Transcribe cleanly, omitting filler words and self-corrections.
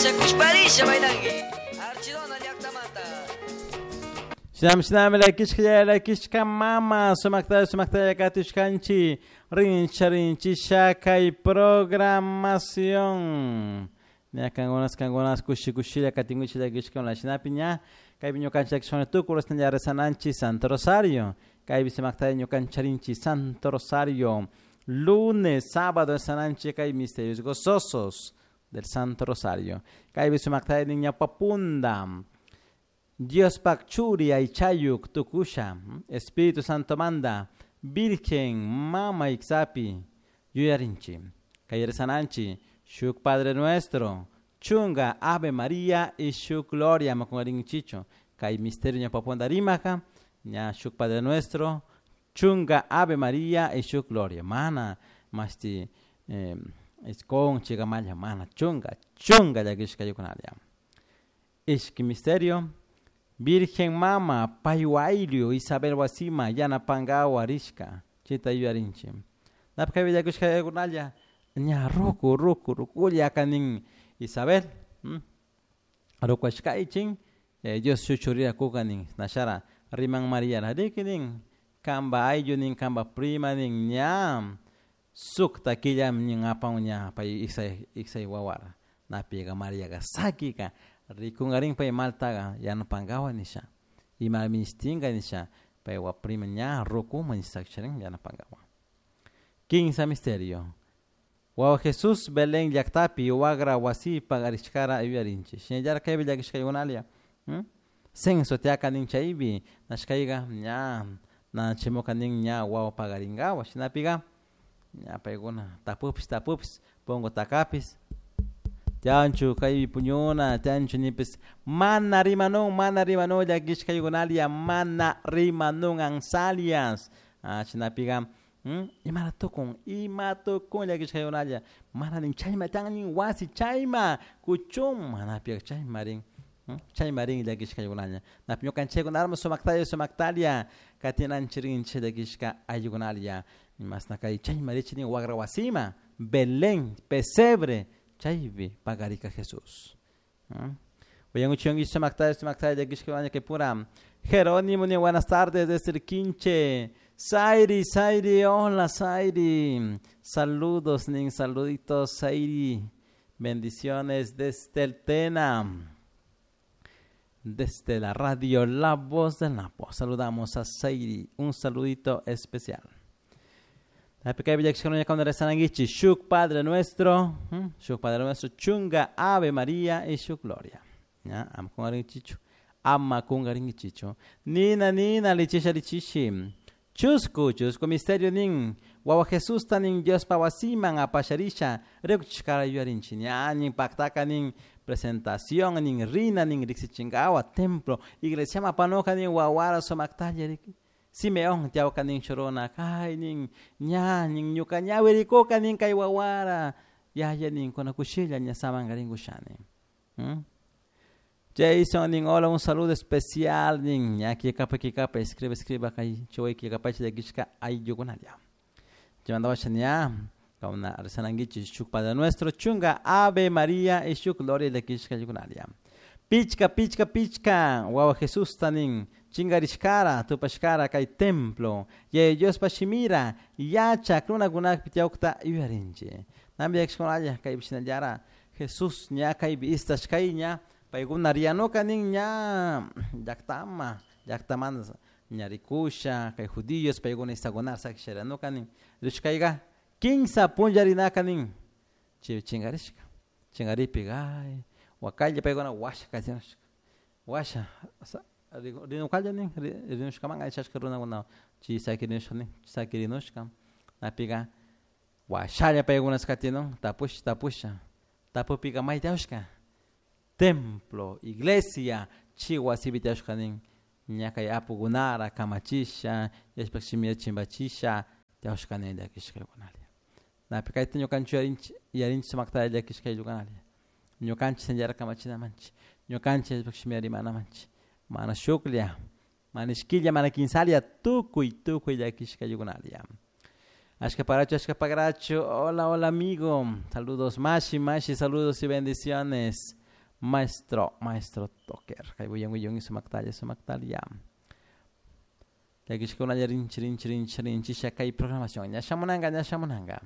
Kushparisha bailangui. Archidona llaqtamanta. Shinami shinami lakishka lakishka mama sumakta sumakta katishkanchi rincha rinchisha kay programación. Ña kangunas kangunas kushi kushilla katinguchi lakishka shinapi ña kaypi ñukanchik lakishkuna tukuy ña rezananchik Santo Rosario. Kaypi sumakta ñukancharinchik Santo Rosario. Lunes, sábado rezananchik kay misterios gozosos del Santo Rosario. Kaypi sumakta ña papunda. Diospak churi aychayuk tukusha, Espíritu Santo manda, Virgen mama iksapi, yuyarinchi, kay rezananchi, shuk Padre Nuestro, chunga Ave María y shuk Gloria makungarinchicho, kay misterio ña paponda rimaka, ña shuk Padre Nuestro, chunga Ave María y shuk Gloria, mana, masti, iskon chigamalla, mana, chunga, chunga llakishka yukunalia. Ishki misterio, Virgen Mama, Payuailio, Isabel Wasima, Yanapangawa, Rishka, Chita Yuarinchi. Napka Villacushka Yagunaya, Ña Ruku, Ruku, Rukulia Kanin, Isabel, Rukuashkaichin, Dios Chuchuria Kukanin, Nashara, Riman María Narikinin, Kamba Ayunin, Kamba Prima, nin Ñam, Sukta Killam, nin Apan Ña, Pay Isai, Isai Wawara, Napiga María Gasakika, Rikungarin pay maltaga yanapangawa nisha. Ima ministinga nisha pay waprima ña rukuma nisakcharin yanapangawa. Quinza misterio. Wawa Jesús Belén llaktapi wagra wasi pagarishkara yuyarinchi. Shinallara kaypi llakishkaykunalia. Censo tiaka nin chaypi nashkayga ña nachimuka nin ña wawa pagaringawa. Shinapiga ña paykuna tapupis tapupis pongo takapis. Tianchu kay puñuna, tianchu nipis mana rimanun, mana rimanun llakishkaykunalia, mana rimanun ansalias. Ah, shinapiga, imara tukun, ima tukun llakishkaykunalia, mana nin chayma tian nin wasi chayma kuchun, mana piga chayma rin, chayma rin llakishkaykunalia. Napi ñukanchikkunarma sumaktalla sumaktalia, katinanchirinchik llakishka ayllukunalia. Masna kay chayma richi nin wagra wasima, Belén, pesebre, chaypi pagarika Jesús. Oye, sumaktalla, sumaktalla, llakishkaykunalia que pura. Jerónimo, ni buenas tardes desde el Quinche. Zairi, Zairi, hola Zairi. Saludos, nin, saluditos, Zairi. Bendiciones desde el Tena. Desde la radio La Voz del Napo. Saludamos a Zairi. Un saludito especial. Shuk Padre Nuestro, Shuk Padre Nuestro, Chunga Ave María y Shuk Gloria. Ya, ama kungaringichichu. Ama kungaringichichu. Nina, nina, lichisha, lichishi. Chusku, chusku, misterio nin. Wawa Jesús tanin Dios pawasiman apasharisha. Rekuchkara yuarinchi. Ña, nin paktaka nin presentación, nin rina, nin riksichingawa, templo. Iglesia mapanoka nin wawara somaktalla riki. Simeón tiawka nin chorona, kay nin ña nin ñuka ñawirikuka nin kay wawara. Ya ya nin kona kushilla ña samangarin kushani. Jason nin hola, un saludo especial nin ña kikapa kikapa escribe escriba kay chuy kikapa chilakishka ay yukunalia. Llamando a ña kauna rezananguichi shuk Padre Nuestro chunga Ave María y shuk Gloria lakishka yukunalia. Pichka pichka pichka wawa Jesús tanin chingarishkara tupashkara kay templo ye Dios pashimira yacha runakunak pitiawkta yuyarinchi. Nambi yakshkunalla kay bishinallara Jesús ña kay istashkay ña paykuna rianuka nin ña llaktama llaktamanta ña rikusha kay judíos paykuna istakunar sakisharianuka nin rishkayga kinsa punllarinaka nin chay chingarishka chingaripi ay wakalla paykuna washa katinushka washa rinukalla nin rinushkaman aychashka runakuna chay sakirinushka nin sakirinushka napiga washalla paykunas katinun tapusha tapusha tapupiga maytawshka templo iglesia chi wasipi tiyashka nin ña kay apukunara kamachisha yashpak shimira chimbachisha tiyashka nin llakishkaykunalia. Napi kayta ñukanchik yarinchik yarinchik sumaktalla llakishkaykunalia. Ñukanchik sinllara kamachinamanchik ñukanchik yashpak shimira rimanamanchik mana shuklla mana ishkilla mana kinsalia tukuy tukuy llakishkaykunalia. Ashka paracho, ashka pagracho, hola, hola amigo, saludos mashi, mashi, saludos y bendiciones. Maestro, maestro toker. Kay wiyan wiyan sumaktalla sumaktalla. Llakishkunalla rinchi rinchi rinchi rinchi kay programación ña shamunanga ña shamunanga.